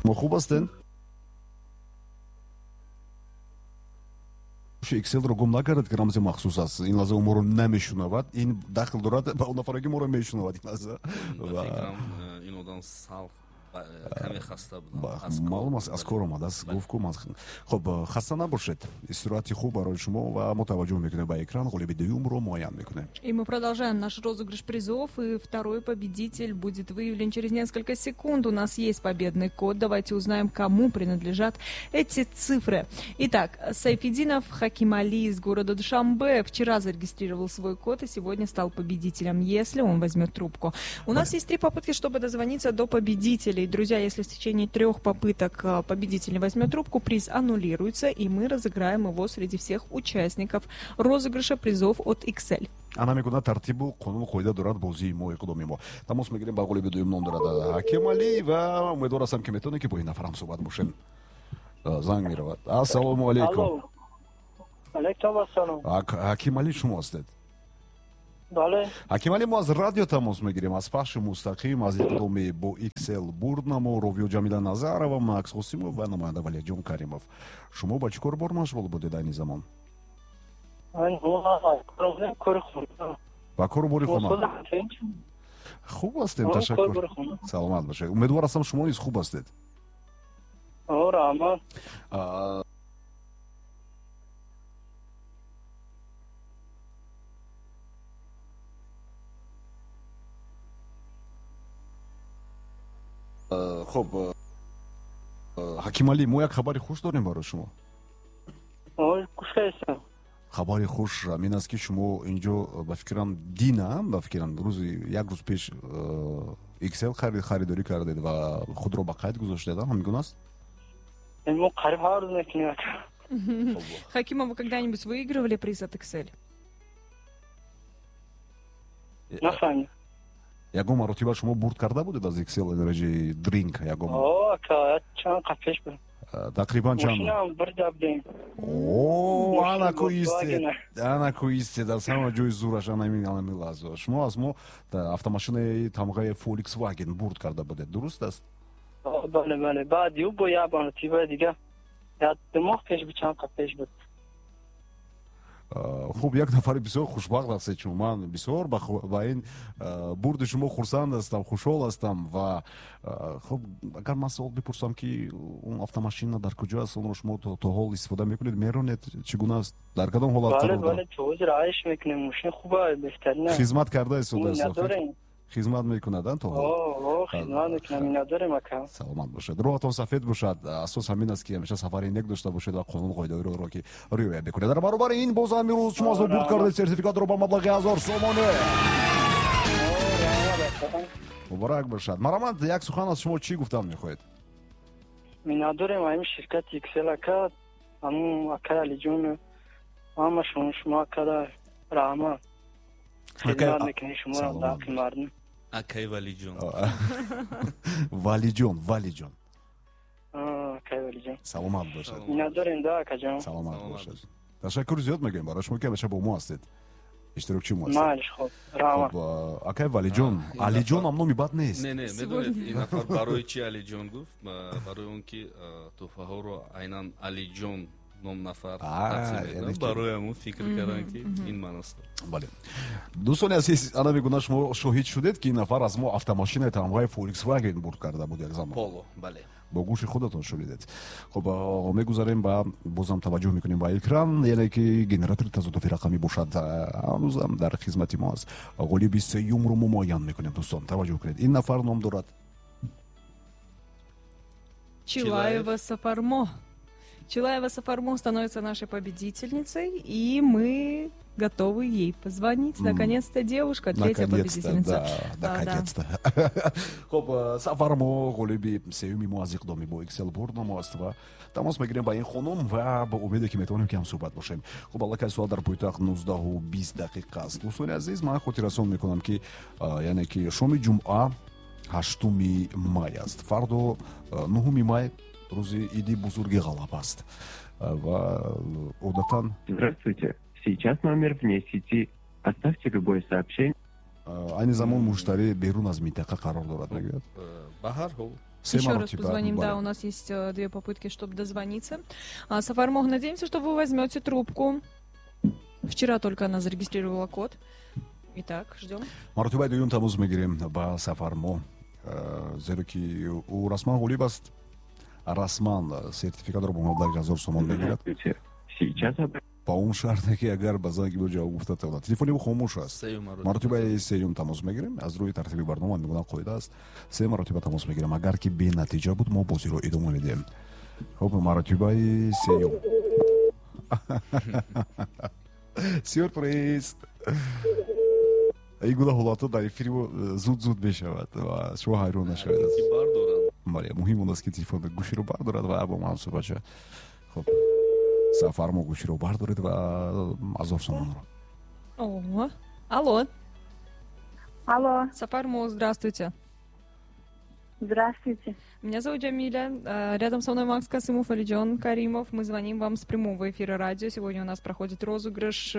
Шумо хуб ҳастед? Excel-ро гум накардед, ки рамзи махсус аст. Ин лаҳза ӯ моро намешунавад. Ин дахл дорад ба он нафаре, ки моро мешунавад ин лаҳза. Ба фикрам, ин одам сал каме хаста буд. Маълум аст, аз кор омадааст. Гуфт ку ман. Хуб, хаста набошед. Истироҳати хуб барои шумо ва мо таваҷҷӯҳ мекунем ба экран, ғолиби дуюмро муайян мекунем. И мы продолжаем наш розыгрыш призов, и второй победитель будет выявлен через несколько секунд. У нас есть победный код. Давайте узнаем, кому принадлежат эти цифры. Итак, Сайфидинов Хакимали из города Душанбе вчера зарегистрировал свой код и сегодня стал победителем, если он возьмет трубку. У нас есть 3 попытки, чтобы дозвониться до победителей. Друзья, если в течение 3 попыток победитель не возьмет трубку, приз аннулируется, и мы разыграем его среди всех участников розыгрыша призов от XL. Ана мекунад тартибу қонуну қоида дорад бозии мо, иқдоми мо. Тамос мегирем ба ғолиби дуюм, ном дорад Ҳакималӣ, ва умедвор ҳастам, ки метавонем, ки бо ин нафар ҳам суҳбат бошем. Занг меравад. Ассалому алайкум. Алайкум ассалом. Ҳакималӣ шумо ҳастед? Бале. Ҳакималӣ, мо аз радио тамос мегирем, аз пахши мустақим, аз иқдоми бо XL бурднамо, ровиё Ҷамила Назарова, Макс Қосимов ва намоянда Валиҷон Каримов. Шумо ба чӣ кор бор машғул будед айни замон? Ба кору бори хона. Хуб ҳастем, ташаккур. Саломат бошед. Умедвор ҳастам, шумо низ хуб ҳастед. Раҳмат. Хуб, Ҳакималӣ, мо як хабари хуш дорем барои шумо. Хабари хуш ҳамин аст, ки шумо инҷо, ба фикрам, дина, ба фикрам, рӯзи як рӯз пеш XL харидорӣ кардед ва худро ба қайд гузоштед, ҳамин гуна аст? Мо қариб ҳар рӯз мекунем. Хакима, вы когда-нибудь выигрывали приз от XL? Нафаҳмидам. Ягон маротиба шумо бурд карда будед аз XL Energy Drink? Ягон? Ака, чанд қат пеш буд. Тақрибан чанд? Мошинам бурда будем. О, анаку истед, анаку истед, аз ҳама ҷои зураш ана ҳамин лаҳза. Шумо аз мо автомошинаи тамғаи Volkswagen бурд карда будед, дуруст аст? Бале, бале. Баъд ю бо як маротиба дига, як 2 моҳ пеш буд, чанд қат пеш буд. Хуб, як нафари бисёр хушбахт ҳастед шумо. Ман бисёр ба ин бурди шумо хурсанд ҳастам, хушҳол ҳастам. Ва хуб, агар ман савол бипурсам, ки он автомошина дар куҷо аст, онро шумо то ҳол истифода мекунед, меронед, чӣ гуна аст, дар кадом ҳолат қарор дорад? Бале, то ҳозир айш мекунем, мошин хуба, беҳтарин. Хизмат карда истодааст? Хизмат мекунад, то ҳол? Хизмат мекунам, миннатдорем, ака. Саломат бошед, роҳатон сафед бошад. Асос ҳамин аст, ки ҳамеша сафари нек дошта бошед ва қонун қоидаҳоро ки риоя бикунед. Дар баробари ин боз ҳам имрӯз шумо аз мо бурд кардед сертификатро ба маблағи 1000 сомонӣ. Муборак бошад. Марамад, як сухан аз шумо чӣ гуфтан мехоҳед? Миннатдорем ҳамин ширкати XL, ака, ҳамун акай Алиҷон, ҳамашон шумо акада раҳмат. Хизмат мекунед шумо дар ҳаққи мардум. Акай Валиҷон. Валиҷон, Валиҷон. Акай Валиҷон. Саломат бошед. Миннатдорем да, акаҷон. Саломат бошед. Ташаккур зиёд мегӯем барои шумо, ки ҳамеша бо мо ҳастед. Иштирокчи мо ҳастед. Майли, хуб, раҳмат. Акай Валиҷон, Алиҷон ҳам номи бад нест. Не, не, медонед, ин нафар барои чи Алиҷон гуфт? Барои он ки тӯҳфаҳоро айнан Алиҷон ном нафар тақсим мекунад. Барои ҳамон фикр кардам, ки ин ман ҳастам. Бале. Дӯстони азиз, ана мегуна шумо шоҳид шудед, ки ин нафар аз мо автомошинаи тамғаи Volkswagen бурд карда буд як замон. Поло, бале. Бо гӯши худатон шунидед. Хуб, мегузарем ба бозам таваҷҷӯҳ мекунем ба экран, яъне ки генератори тазодуфи рақамӣ бошад, ҳанӯзам дар хизмати мо аст. Ғолиби сеюмро мо муайян мекунем, дӯстон, таваҷҷӯҳ кунед. Ин нафар ном дорад Чилаева Сафармо. Чилаева Сафармо становится нашей победительницей, и мы готовы ей позвонить. Наконец-то девушка, третья победительница. Да, наконец-то. Хуб, Сафармо ғолиби сеюми мо аз иқдоми бо XL бурднамо аст ва тамос мегирем ба ин хонум ва бо умеде, ки метавонем, ки ҳамсӯҳбат бошем. Хуб, аллакай соат дар пойтахт 19:20 аст. Дӯстони азиз, ман хотиррасон мекунам, ки яъне ки шоми ҷумъа 8 май аст. Фардо 9 май рӯзи иди бузурги ғалаба аст ва одатан. Здравствуйте. Сейчас номер вне сети. Оставьте любое сообщение. Айни замон муштарӣ берун аз минтақа қарор дорад, мегӯяд. Ба ҳар ҳол. Еще раз позвоним, да, у нас есть две попытки, чтобы дозвониться. Сафармоҳ, надеемся, что вы возьмете трубку. Вчера только она зарегистрировала код. Итак, ждем. Маротибаи дуюм тамос мегирем ба Сафармоҳ, зеро ки ӯ расман ғолиб аст, расман сертификатро бо маблағи 1000 сомон мегирад. Сейчас Ба он шарте, ки агар ба занги мо ҷавоб гуфта тавонад. Телефони ӯ хомӯш аст. Маротибаи сеюм тамос мегирем. Аз рӯи тартиби барнома мегӯям, қоида аст, се маротиба тамос мегирем. Агар ки бенатиҷа буд, мо бозиро идома медиҳем. Хуб, маротибаи сеюм. Сюрприз! Ин гуна ҳолатҳо дар эфири мо зуд зуд мешавад ва шумо ҳайрон нашавед. Бале, муҳим он аст, ки телефон гӯширо бардорад ва бо ман суҳбат шавад. Хуб, Сафармо, гӯширо бардоред ва 1000 сомонро. О, алло. Алло. Сафармо, здравствуйте. Здравствуйте. Меня зовут Джамиля. Рядом со мной Макс Касымов, Алиджон Каримов. Мы звоним вам с прямого эфира радио. Сегодня у нас проходит розыгрыш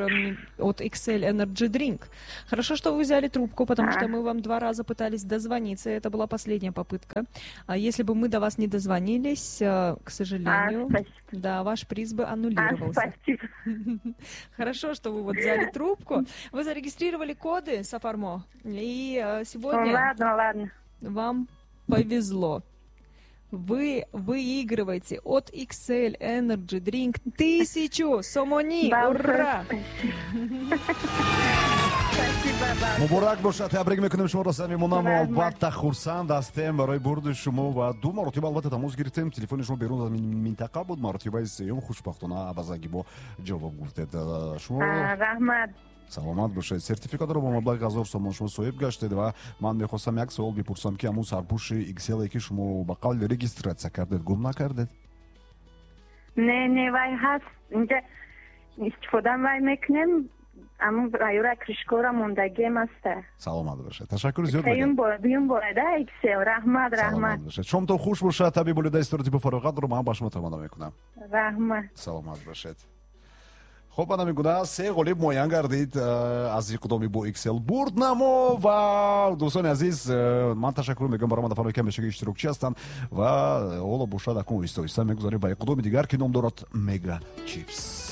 от XL Energy Drink. Хорошо, что вы взяли трубку, потому что мы вам два раза пытались дозвониться. Это была последняя попытка. А если бы мы до вас не дозвонились, к сожалению, да, ваш приз бы аннулировался. А, спасибо. Хорошо, что вы вот взяли трубку. Вы зарегистрировали коды, Сафармо, и сегодня Ладно, ладно. Вам повезло. Вы выигрываете от XL Energy Drink 1000 сомони. Ура! Муборак бошад, табрик мекунем шуморо самимона. Мо албатта хурсанд ҳастем барои бурди шумо ва ду маротиба албатта тамос гирифтем, телефони шумо берун аз минтақа буд. Маротибаи сеюм хушбахтона ба занги мо ҷавоб гуфтед шумо. Раҳмат. Саломат бошед. Сертификатро бо маблағи 1000 сомон шумо соҳиб гаштед ва ман мехостам як савол бипурсам, ки ҳамун сарпӯши XL, ки шумо ба қавли регистратсия кардед, гум накардед? Не, не, вай ҳаст, инҷа истифода вай мекунем, аммо аюра крышкора мондагием аста. Саломат бошед, ташаккури зиёд. Сеюм бора, дуюм бора да XL. Раҳмат, раҳмат. Шомтон хуш бошад. Таби болида истироҳати бофароғатро ман ба шумо таманно мекунам. Раҳмат. Саломат бошед. Хуб, ана мегуна, се ғолиб муайян гардид аз иқдоми бо XL бурд намо. Ва дӯстони азиз, ман ташаккур мегӯям барои нафароне, ки ҳамешаги иштирокчӣ ҳастанд. Ва ҳоло бошад, акун оҳиста оҳиста мегузарем ба иқдоми дигар, ки ном дорад Мега Чипс.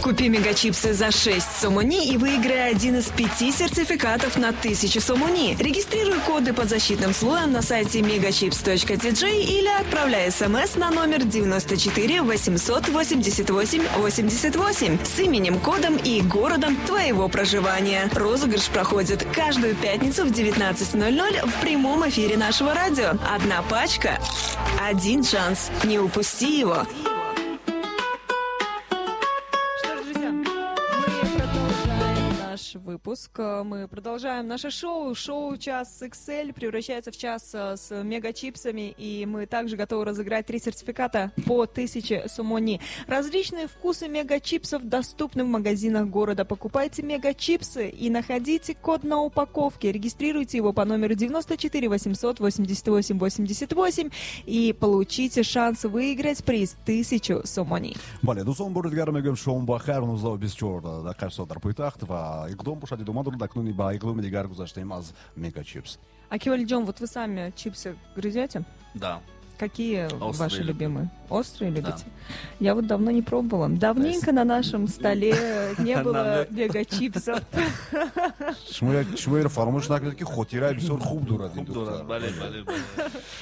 Купи мегачипсы за 6 сомони и выиграй один из пяти сертификатов на 1000 сомони. Регистрируй коды под защитным слоем на сайте megachips.tj или отправляй смс на номер 94 888 88 с именем, кодом и городом твоего проживания. Розыгрыш проходит каждую пятницу в 19.00 в прямом эфире нашего радио. Одна пачка, один шанс. Не упусти его. Что ж, друзья, мы продолжаем наш выпуск. Мы продолжаем наше шоу. Шоу «Час XL» превращается в час с мегачипсами. И мы также готовы разыграть три сертификата по 1000 сомони. Различные вкусы мегачипсов доступны в магазинах города. Покупайте мегачипсы и находите код на упаковке. Регистрируйте его по номеру 94 888 88 и получите шанс выиграть приз 1000 сомони. Бале, дӯстон, бори дигар мегӯем шом бахайр. 19:24 соат дар пойтахт ва иқдом бошад идома дорад. Акнун ба иқдоми дигар гузаштем аз Мегачипс. Аки Валиджон, вот вы сами чипсы грызете? Да. Какие Острые ваши люблю. Любимые? Острые любите? Я вот давно не пробовала. Давненько на нашем столе не было мегачипсов. Шумо инро фаромӯш накунед, ки хотираи бисёр хуб дорад ин Хуб дорад, духтар. Бале, бале, бале.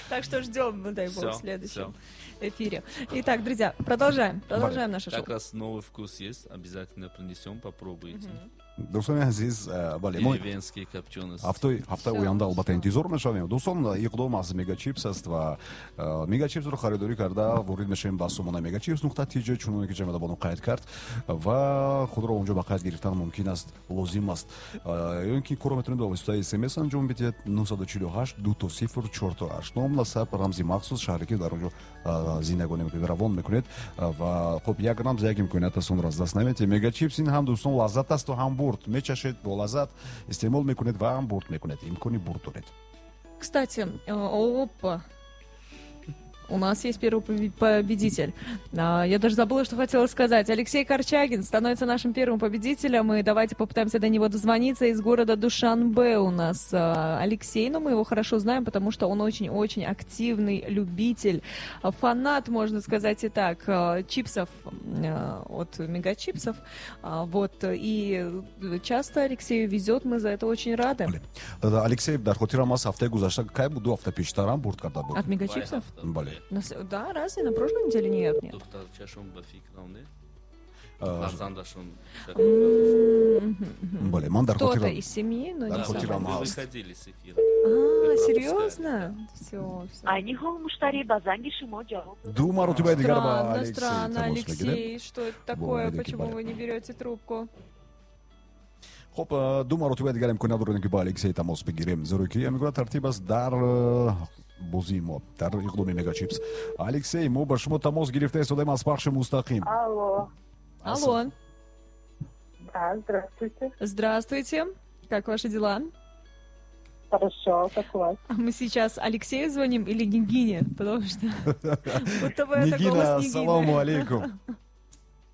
Так что ждем, дай бог, Всё, в следующем всё. эфире. Итак, друзья, продолжаем. Продолжаем наше шоу. Как раз новый вкус есть, обязательно принесем, попробуйте. Дӯстони азиз, бале, мо Деревенские копчености. ҳафтаи оянда албатта интизор мешавем. Дӯстон, иқдом аз Мегачипс аст ва Мегачипсро харидорӣ карда ворид мешавем ба сомона megachipс.tj, чуноне ки Ҷамила бону қайд кард, ва худро онҷо ба қайд гирифтан мумкин аст, лозим аст. Ё ин ки корро метавонед ба воситаи смс анҷом бидиҳед: 948 00 48, ном, насаб, рамзи махсус, шаҳре, ки дар онҷо зиндагонӣ мекунед, равон мекунед. Ва хуб, як рамз, як имконият аст, онро аз даст наметиҳед. Мегачипс ин ҳам, дӯстон, лаззат асту ҳам бурд. Мечашед, бо лаззат истеъмол мекунед ва ҳам бурд мекунед, имкони бурд доред. Кстати, опа. У нас есть первый победитель. Я даже забыла, что хотела сказать. Алексей Корчагин становится нашим первым победителем. И давайте попытаемся до него дозвониться. Из города Душанбе у нас Алексей. Но мы его хорошо знаем, потому что он очень-очень активный любитель, фанат, можно сказать и так, чипсов от Мегачипсов. Вот. И часто Алексею везет, мы за это очень рады. Алексей, дар хотирам аст, ҳафтаи гузашта кай буд, 2 ҳафта пештарам бурд карда буд. От Мегачипсов? Бале. Да, разве на прошлой неделе? Нет, нет. Духтарчашон ба фикрам, не? Фарзандашон. Бале, ман дар Кто-то из семьи, но не сам. Выходили с эфира. А, серьезно? Все, все. Айни ҳол муштарӣ ба занги шумо ҷавоб Ду маротибаи дигар ба Алексей Странно, Алексей, что это такое? Почему вы не берете трубку? Хуб, ду маротибаи дигар имконият дорем, ки ба Алексей тамос бигирем, зеро ки ҳамин гуна тартиб аст дар бозии мо, дар иқдоми Мегачипс. Алексей, мо ба шумо тамос гирифта истодаем аз пахши мустақим. Алло. Алло. Да, здравствуйте. Здравствуйте. Как ваши дела? Хорошо, как у вас? А мы сейчас Алексею звоним или Нигине? Потому что будто бы это голос Нигины. Саламу алейкум.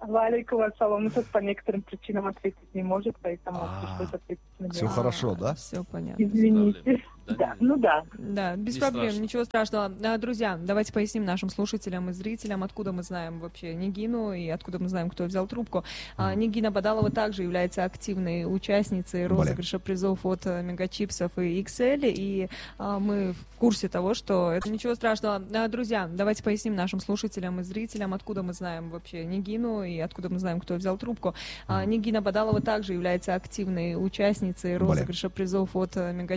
Валейкум ассалам. Ну, тут по некоторым причинам ответить не может, поэтому пришлось ответить мне. Все хорошо, да? Все понятно. Извините. Да, ну да. Да, без проблем, ничего страшного. Друзья, давайте поясним нашим слушателям и зрителям, откуда мы знаем вообще Нигину и откуда мы знаем, кто взял трубку. Нигина Бадалова также является активной участницей розыгрыша призов от Мегачипсов и XL, и мы в курсе того, что это ничего страшного. Друзья, давайте поясним нашим слушателям и зрителям, откуда мы знаем вообще Нигину и откуда мы знаем, кто взял трубку. Нигина Бадалова также является активной участницей розыгрыша призов от Мегачипсов.